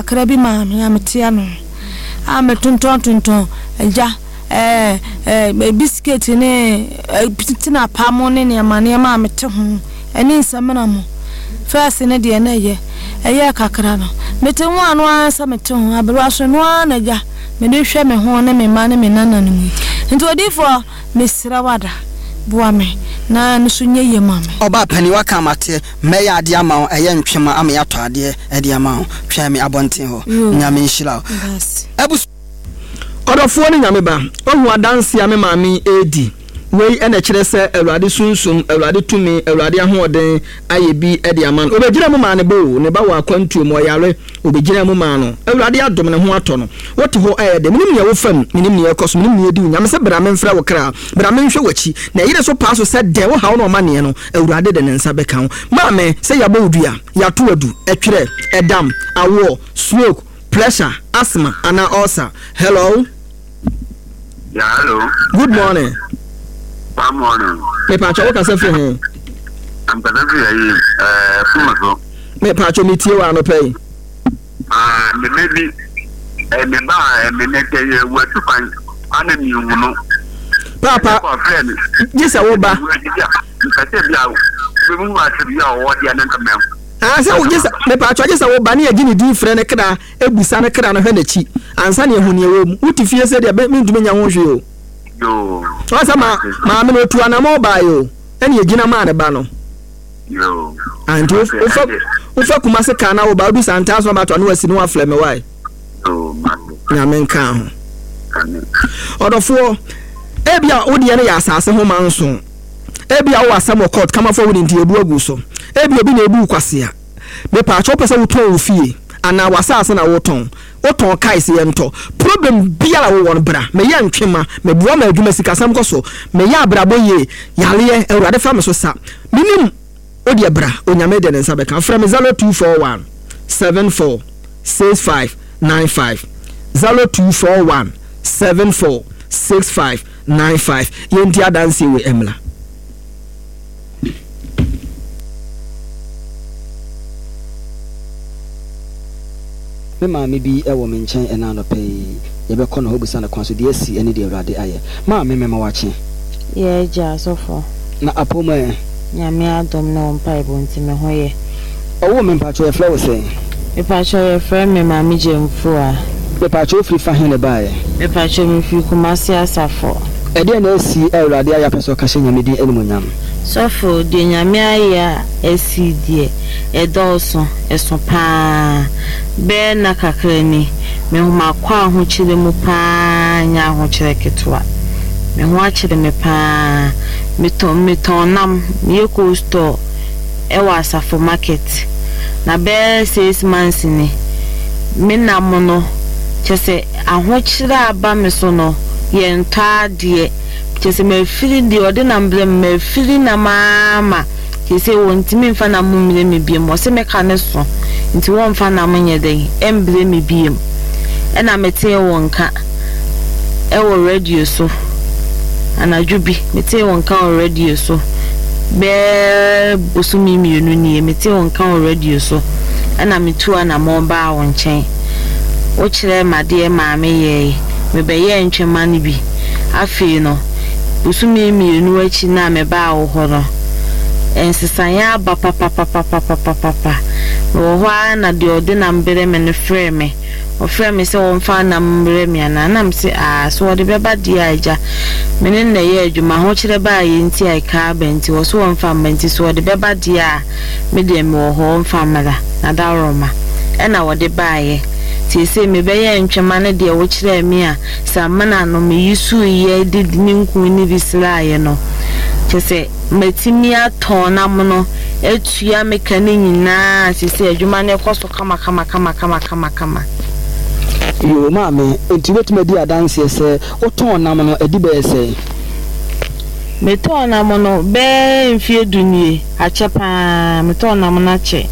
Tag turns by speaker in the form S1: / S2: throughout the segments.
S1: Kakra bi maa me a mete ano a metontɔntontɔn agya ɛɛ ɛɛ bisiketi ne tinapa mo ne nneɛma nneɛma a mete ho ɛne nsamina mo. Fɛs no deɛ na ɛyɛ ɛyɛɛ kakra no mete ho ano ara sɛ mete ho aberewa so no ara na agya mede hwɛ me ho ne me mma ne me nananom yi. Nti odiyifoɔ mesrɛ wo ada boa me na ɛno so nyɛ yie ma me.
S2: Ɔbaa panin waka mate mɛyɛ adeɛ ama wo ɛyɛ ntwema ama yɛatɔ adeɛ de ama wo twɛn me abɔnten hɔ Nyame nhyira wo abusua.
S3: Ɔdɔfoɔ ne Nyame ba, woahu adanseɛ a me maame yi redi? Wei na ɛkyerɛ sɛ Awurade Sunsum, Awurade tumi, Awurade ahoɔden ayɛ bi de ama no. Ɔbɛgyinaa mu maa ne ba o, ne ba wɔ akwantuo mu, ɔyare, ɔbɛgyinaa mu maa no. Awurade adom, ne ho atɔ no. Wote hɔ ɛyɛ dɛ, menim nea wofa mu, menim nea ɛrekɔ so, menim nea ɛdi wo nya. Mese bra memfrɛ wo kra, bra menhwɛ w'akyi. Na ɛyere so paa so sɛ dɛn, wo haw ne w'amaneɛ no, Awurade de ne nsa bɛka wo. Maame, sɛ yɛabɔ wo dua, yɛato wo adu, ɛtwerɛ, ɛdam, awoɔ, stroke, pressure, asthma anaa ulcer. Hello.
S4: Yeah, hello.
S3: Good morning.
S4: Good morning.
S3: Me pacho wo kasa firi he?
S4: I'm kasa firi ayi eh fuma so.
S3: Me pacho me tie wa anɔpa yi.
S4: Ah, me me bi eh me ba eh me ne te ye wa tu kwan ana mi hu no.
S3: Papa, gye sɛ wo ba.
S4: Mpɛsɛ bi a bi mu ase bi a ɔwɔ deɛ ne nka mɛ.
S3: Ah, sɛ wo gye sɛ me pacho gye sɛ wo ba ne yɛ gye ne din frɛ ne kra Bisa ne kra no hwɛ n'akyi ansa na yɛahu nea ɛwɔ mu. Wote fie sɛ deɛ mentumi nyɛ ho hwee o. Ɔn sɛ ma maame no otu anamɔ baeɛ o, ɛna yɛgyina maa ne ba no. Ah, nti wofa wofa Kumase kaa na woba wodu Santaa so abato ano asi ne waflɛ me wae. Nyame nka ho. Ɔdɔfoɔ, ebia wo deɛ no yɛ asase ho manso. Ebia wowɔ asɛm wɔ court kamafoɔ wo de nti yɛbu agu so. Ebia obi na ebu wo kwasea. Mepaakyɛw wopɛ sɛ wotɔn wo fie anaa w'asaase na wotɔn? Wotɔn kae sɛ yɛntɔ. Problem biara a wowɔ no bra. Meyɛ ntwema, meboa ma adwuma sikasɛm kɔ so, meyɛ abrabɔ yie, yareɛ, Awurade fa me so sa. Menim wodeɛ bra, Onyame de ne nsa bɛka. Frɛ me 0241 74 65 95, 0241 74 65 95. Yɛnti adanseɛ wei mmra.
S2: Me maame bi wɔ me nkyɛn ɛnnɛ anɔpa yi. Yɛbɛkɔ ne hɔ abisa no kwan so deɛ asi ne deɛ Awurade ayɛ. Maame, mema wo akye.
S5: Yɛ agya, sɔfo.
S2: Na apɔw mu ɛ?
S5: Nyame adom ne wo mpaebɔ nti me ho yɛ.
S2: Ɔwoo me mpakyɛw yɛfrɛ wo sɛn?
S5: Mepakyɛw yɛfrɛ me Maame Gyamfua.
S2: Mepakyɛw wofiri fa he na ɛbaeɛ?
S5: Mepakyɛw mefiri Kumasi Asafo.
S2: Ɛdeɛn na asi a Awurade ayɛ apɛ sɛ ɔka hyɛ Nyame din animuonyam?
S5: Sɔfo, deɛ Nyame ayɛ a asi deɛ, ɛdɔɔso, ɛso paa. Bɛyɛ nna kakra ni, me ho makɔ ahokyere mu paa nyɛ ahokyerɛ ketewa. Me ho akyere me paa. Metɔn, metɔn nam, meyɛ cold store ɛwɔ Asafo market. Na bɛyɛ six months ni, me nam no, kyerɛ sɛ ahokyere a aba me so no, yɛntɔ adeɛ. Kyerɛ sɛ mafiri deɛ ɔde nam brɛ me, mafiri nam ara ma seesei wɔntumi mfa nam mmrɛ me biom. Wɔse me ka no so nti wɔmfa nam nyɛ dɛn mbrɛ me biom. Ɛna metee wo nka wɔ radio so anadwo bi, metee wo nka wɔ radio so bɛyɛ bosome mmienu nie, metee wo nka wɔ radio so ɛna metuu anamɔn baa wo nkyɛn. Wokyerɛɛ me adeɛ maa meyɛɛe, mebɛyɛɛ ntwema no bi. Afei no, bosome mmienu akyi no a mebaa wo hɔ no, nsesaeɛ aba papapapapapapa. Mewɔ hɔ ara na deɛ ɔde nam brɛ me no frɛɛ me. Ɔfrɛɛ me sɛ ɔmfa nam mmrɛ me anaa? Na mese, Aa, sɛ ɔde bɛba deɛ a, agya, me ne no na ɛyɛ adwuma. Ahokyerɛ baeɛ nti a ɛka aba nti, ɔse ɔmfa mma nti, sɛ ɔde bɛba deɛ a, me deɛ mewɔ hɔ, ɔmfa mmra. Na dawuroma na ɔde baeɛ. Seesei mebɛyɛ ntwema ne deɛ wokyerɛɛ me a Samina no meyusuiɛ de ne nku no bi sraeɛ no, kyerɛ sɛ matumi atɔn no amono atua me ka no nyinaa, seesei adwuma no rekɔ so kamakamakamakama.
S2: Yoo maame, enti wobɛtumi adi adanseɛ sɛ wotɔn nam no adi bɛyɛ sɛn?
S5: Metɔɔ nam no bɛyɛ mfeɛ du nie, akyɛ pa ara, metɔɔ nam no akyɛ.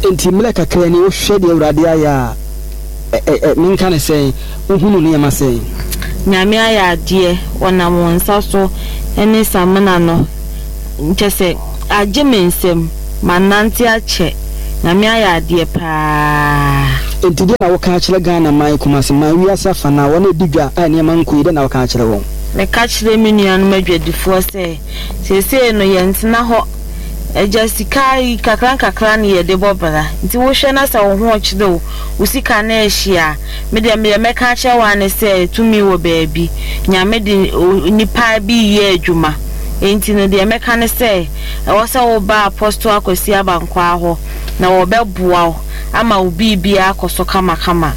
S2: Enti mmerɛ kakra ni wohwɛ deɛ Awurade ayɛ a, Ɛ ɛ ɛ menka no sɛn? Wohunu nneɛma sɛn?
S5: Nyame ayɛ adeɛ, ɔnam wo nsa so ne samina no kyɛsɛ agye me nsam, manante akyɛ, Nyame ayɛ adeɛ paa.
S2: Enti deɛ na woka akyerɛ Ghana man, Kumasi man, wiase afanaa, wɔn a ɛdi dwa a nneɛma nkɔ yie, dɛn na woka akyerɛ wɔn?
S5: Meka kyerɛ me nuanom adwadifoɔ sɛ, seesei no yɛntena hɔ. Agya, sika yi nkakrankakra na yɛde bɔ bra. Nti wohwɛ na sɛ wo ho rekyere wo, wo sika no rehye a, me deɛ deɛ mɛka akyerɛ wo ara ne sɛ tumi wɔ baabi. Nyame de nnipa bi reyɛ adwuma. Enti no deɛ mɛka ne sɛ, ɛwɔ sɛ woba Apostle Akwasi Abankwaa hɔ na wɔbɛboa wo ama wo biribiara akɔ so kamakama.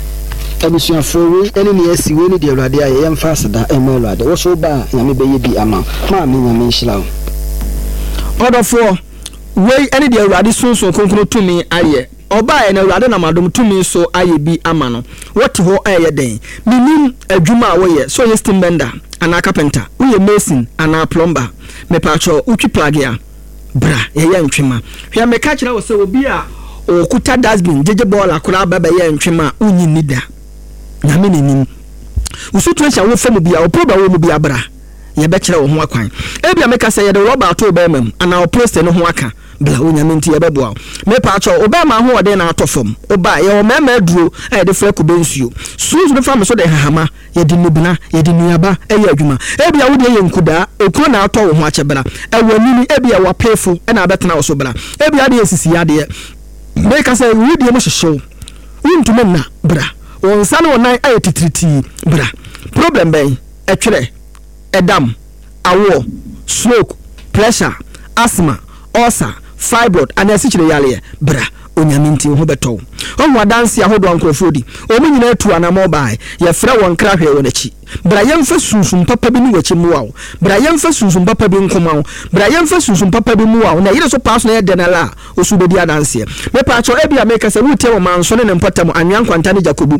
S2: Abusuafoɔ, wei ne nea asi, wei ne deɛ Awurade ayɛ, yɛmfa aseda mma Awurade. Wo nso woba a, Nyame bɛyɛ bi ama wo. Maame, Nyame nhyira wo.
S3: Ɔdɔfoɔ, wei ne deɛ Awurade Sunsum Kronkron tumi ayɛ. Ɔbaeɛ no, Awurade nam adom tumi so ayɛ bi ama no. Wote hɔ reyɛ dɛn? Mennim adwuma a woyɛ, sɛ woyɛ steam bender anaa carpenter, woyɛ mason anaa plumber. Mepaakyɛw, wotwi plage a, bra yɛyɛ ntwema. Hwɛ, meka kyerɛ wo sɛ obi a ɔkuta dustbin gyegye bɔɔla koraa ba bɛyɛ ntwema a, wonnye nni da. Nyame na nim. Wo situation a wofa mu biara, wo problem a wowɔ mu biara, bra yɛbɛkyerɛ wo ho akwan. Ebia meka sɛ yɛde rɔba ato wo bɛrima mu anaa wo prostate no ho aka. Bla, Onyame nti yɛbɛboa wo. Mepaakyɛw, wo bɛɛma ahoɔden na atɔ fam. Wo ba, yɛwɔ mɛɛma aduro a yɛde frɛ kube nsuo. Suns no fa me so de nhahama, yɛde nnubena, yɛde nnuaba yɛ adwuma. Ebia wo deɛ yɛ nkudaa, ekuro na atɔ wo ho akyɛ bra. Ɛwɔ anini, ebia ɛwɔ apeefo na abɛtena wo so bra. Ebia adeɛ yɛ sisi yadeɛ. Meka sɛ wo deɛ mu hyehye wo, wontumi nna, bra. Wo nsa ne wo nan ayɛ titiritii, bra. Problem bɛn? Ɛtwerɛ, ɛdam. awoɔ, stroke, pressure, asthma, ulcer, fibroid anaa asikyire yareɛ, bra, Onyame nti wo ho bɛtɔ wo. Woahu adanseɛ ahodoɔ a nkorɔfoɔ di? Wɔn nyinaa tuu anamɔn baae. Yɛfrɛ wɔn kra hwɛɛ wɔn akyi. Bra yɛmfa sunsum papa bi ne w'akyi mmoa wo. Bra yɛmfa sunsum papa bi nko ma wo. Bra yɛmfa sunsum papa bi mmoa wo. Na yere so paa so na ɛyɛ dɛn ara a, wo so wobɛdi adanseɛ. Mepaakyɛw, ebia meka sɛ woretie wɔ Manso ne ne mpɔtam, Anwea Nkwanta ne Gyakobu.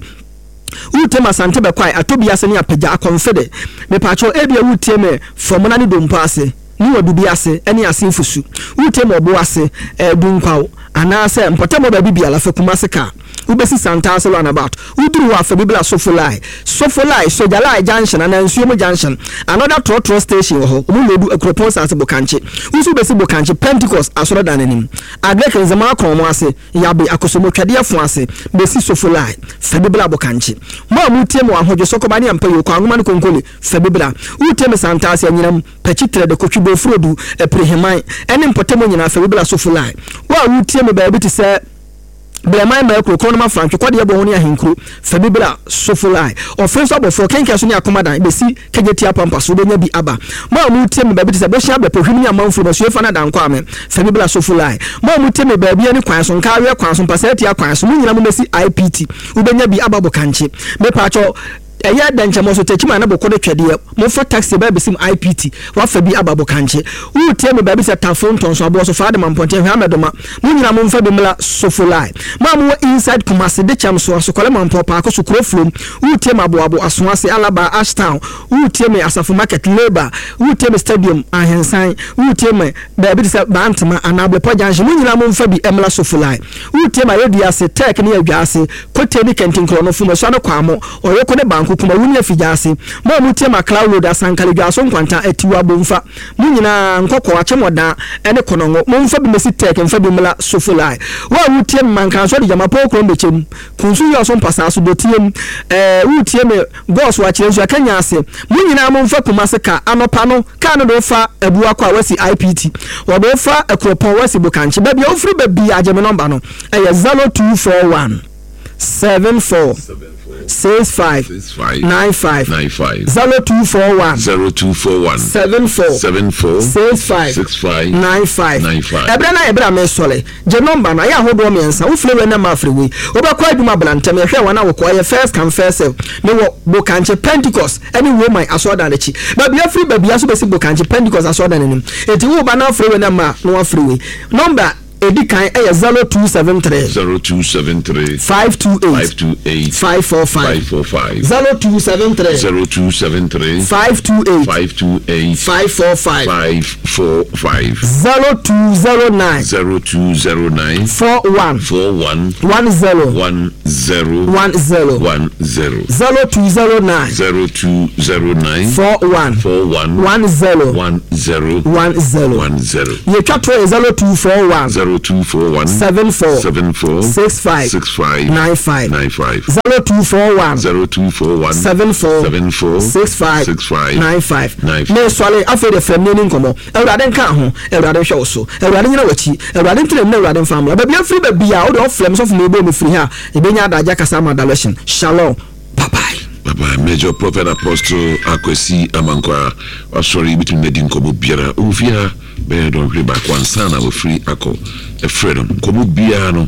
S3: Woretie me Asante Bɛkwae, Atɔbi ase ne Apagya, Akɔmfede. Mepaakyɛw, ebia woretie me Fɔmona ne Dompo ase, ne Wadubi ase ne Ase Nfusu. Woretie me Ɔbo ase, eh, Dunkwaw, anaasɛ mpɔtam hɔ baabi biara, fa Kumasi car. Wobesi Santase roundabout. Woduru hɔ a, fa bi bra Sofolai. Sofolai, Sogyalai junction anaa Nsuomu junction. Another trɔtrɔ station wɔ hɔ. Wɔn loodu Akuropɔn Saase Bokankye. Wo nso wobesi Bokankye, Pentecost Asɔredan no anim. Agric Nzema Akɔn mo ase. Yabe Akosombo Twɛdeɛ fo ase bɛsi Sofolai, fa bi bra Bokankye. Mo a motie me wɔ Ahodwo, Sɔkɔba ne Ampayo, Kwanwoma ne Konkole, fa bi bra. Woretie me Santaase, Anyinam, Pakyi, Trɛde, Kotwi, Bofurodu, Apiriheman, ne mpɔtam nyinaa, fa bi bra Sofolai. Wo a woretie me baabi te sɛ Blɛman, Maakuro, Korɔnoma, Frantwe, Kɔdeɛ Bɔho ne Ahenkuro, fa bi bra Sofolai. Ɔfe nso abɔfoɔ, Kɛnkɛn so ne Akomadan bɛsi Kejetia Pampa so wobɛnya bi aba. Mo a moretie me baabi te sɛ Bohyia Bɛpɔ, Hwim ne Amanfurom, Asuefa ne Adankwame, fa bi bra Sofo Line. Mo a motie me baabi ani kwan so, Nkaaweɛ kwan so, Mpasatia kwan so, mo nyinaa mommɛsi IPT, wobɛnya bi aba Bokankye. Mepaakyɛw, ɛyɛ Dɛnkyɛmmɔ so, Techiman ne Bokode Twɛdeɛ, momfa taxi ba abɛsim IPT, woafa bi aba Bokankye. Woretie me baabi te sɛ Tafo, Ntɔnso, Aboɔso, Faadema, Mpɔnten, Hwɛamɛdoma, Mo nyinaa momfa bi mmra Sofolai. Mo a mowɔ inside Kumasi, Dekyɛm so, Asokɔle Mampɔw, Paako so, Kuro Flom, woretie me Aboabo, Asoase, Alaba, Ashtown, woretie me Asafo Market, Labour, woretie me Stadium, Ahensan, woretie me baabi te sɛ Bantama anaa Bepɔ Junction, mo nyinaa momfa bi mmra Sofolai. Woretie me Ayɛdua ase, Turk ne Adwa ase, Kote ne Kɛntinkorɔno, Fumasua ne Kwamo, Ɔyoko ne Banko, Kumawu ne Afigya ase. Mo a moretie me Accra Road, Asankare, Dwaso Nkwanta, Atiwa, Bomfa, Mo nyinaa, nkɔkɔɔ, akyemɔdan, ne kɔnɔngo, momfa bi mmɛsi Tɛk, mfa bi mmra Sofolai. Wo a woretie me, Mankanso de gyama pɔw kurom bɛkyɛm, Kunsu yɔɔ so mpasaa so, dɔteɛ mu, ɛɛ, woretie me, Gɔɔ so akyerɛ nsu, Akanya ase. Mo nyinaa momfa Kumase kaa, anɔpa no, kaa no de wo fa Abuakɔ a woasi IPT, wɔde wo fa Akuropɔn, woasi Bokankye, baabi a wofiri ba biara, gye me nɔmba no, ɛyɛ 0241 74 65 95 0241
S6: 0241
S3: 74
S6: 74
S3: 65
S6: 65
S3: 95
S6: 95.
S3: Ɛberɛ no ayɛ berɛ a mesɔre. Gye nɔmba no, ayɛ ahodoɔ mmiɛnsa. Wofiri wei na mafiri wei. Wobɛkɔ adwuma bra ntɛm. Yɛhwɛ wɔn a wɔkɔ. Ɛyɛ first come first serve. Mewɔ Bokankye Pentecost ne Roman asɔredan no akyi. Baabi afiri baabiara nso bɛsi Bokankye Pentecost asɔredan no anim. Enti woreba na wafiri wei na ma na wafiri wei. Nɔmba Edi kan yɛ 0273.
S6: 0273.
S3: 528.
S6: 528.
S3: 545.
S6: 545.
S3: 0273.
S6: 0273.
S3: 528.
S6: 528.
S3: 545.
S6: 545.
S3: 0209.
S6: 0209.
S3: 41.
S6: 41.
S3: 10.
S6: 10.
S3: 10.
S6: 10.
S3: 0209.
S6: 0209.
S3: 41.
S6: 41.
S3: 10.
S6: 10.
S3: 10.
S6: 10.
S3: Deɛ ɛtwa toɔ yɛ 0241.
S6: 0241
S3: 74
S6: 74
S3: 65
S6: 65
S3: 95
S6: 95
S3: 0241
S6: 0241
S3: 74
S6: 74
S3: 65
S6: 65
S3: 95
S6: 95.
S3: Mesɔre afei de frɛ me ne nkɔmmɔ. Awurade nka ho, Awurade nhwɛ wo so, Awurade nyina w'akyi, Awurade ntena mu na Awurade mfa mmra. Baabi afiri baabi a wode ɔfrɛ me sɔfo ma ɛbɔ mu firi ha a, yɛbɛnya adagye akasa ama direction. Shalom. Bye bye.
S6: Bye bye. Major Prophet Apostle Akwasi Amankwaa wasɔre yɛbɛtumi no adi nkɔmmɔ biara. Ɔwɔ fie ha bɛyɛ dɔnhwere baako ansa na wafiri akɔ. Ɛfrɛ no nkɔmmɔ biara no.